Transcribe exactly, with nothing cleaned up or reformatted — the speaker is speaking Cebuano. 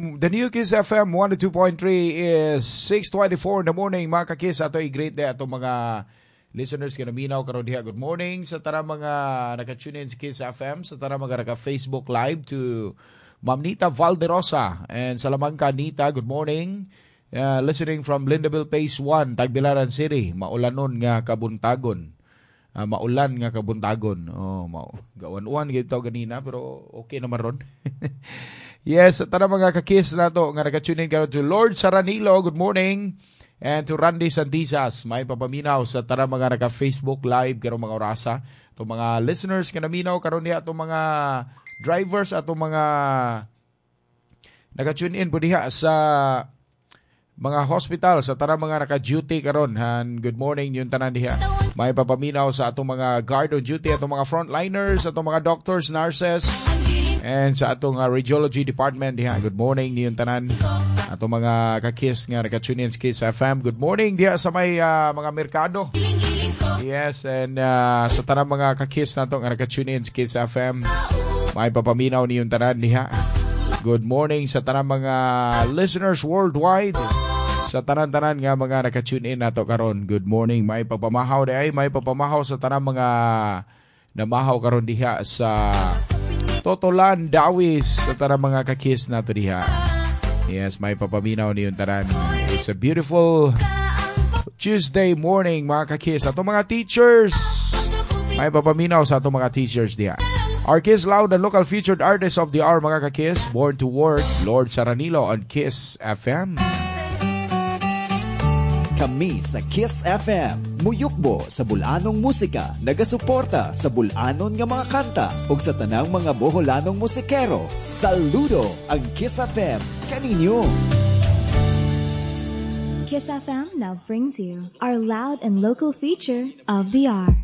The new Kiss F M one oh two point three is six twenty-four in the morning, mga kakiss. Ato i-greet diay ato mga listeners nga naminaw karon diha. Good morning sa tanang mga naka-tune in sa Kiss F M, sa tanang mga naka-Facebook Live, to Ma'am Nita Valderosa and Salamanca Nita, good morning. Uh, listening from Lindaville Phase one, Tagbilaran City. Maulanon nga kabuntagon. Uh, maulan nga kabuntagon. Oh, mao. Gawan-uwan gyud ganina, pero okay naman ron. Yes, sa tanang mga kakis nato nga naka-tune in karon, to Lord Saranilo, good morning. And to Randy Santisas, may papaminaw sa tanang mga naka-Facebook Live karong mga orasa. To mga listeners nga naminaw karon diha, to mga drivers, ato mga naka-tune in po diha sa mga hospital, sa tanang mga naka-duty karon. Han, good morning yung tanan diha. May papaminaw sa atong mga guard on duty, atong mga frontliners, atong mga doctors, nurses, and sa atong uh, radiology department diha. Good morning niyong tanan. Atong mga kakis nga naka-tune in sa Kiss F M. Good morning diha sa may uh, mga merkado. Yes, and uh, sa tanang mga kakis nato nga naka-tune in sa Kiss F M. May papaminaw niyong tanan diha. Good morning sa tanang mga listeners worldwide. Sa tanan-tanan nga mga naka-tune in nato karon. Good morning. May pagpamahaw diay, may pagpamahaw sa tanang mga namahaw karon diha sa Totolan, Dawis, sa tanang mga kakis nato diha. Yes, may papaminaw niyong tanan. It's a beautiful Tuesday morning, mga kakis. Ato mga teachers, may papaminaw sa atong mga teachers diha. Our Kiss Loud and local featured artist of the hour, mga kakis, Born to Work, Lord Saranilo on Kiss F M. Kami sa Kiss F M, muyukbo sa bulanong musika, nagasuporta sa bulanon nga mga kanta ug sa tanang mga Boholanong musikero. Saludo ang Kiss F M kaninyo. Kiss F M now brings you our loud and local feature of the hour.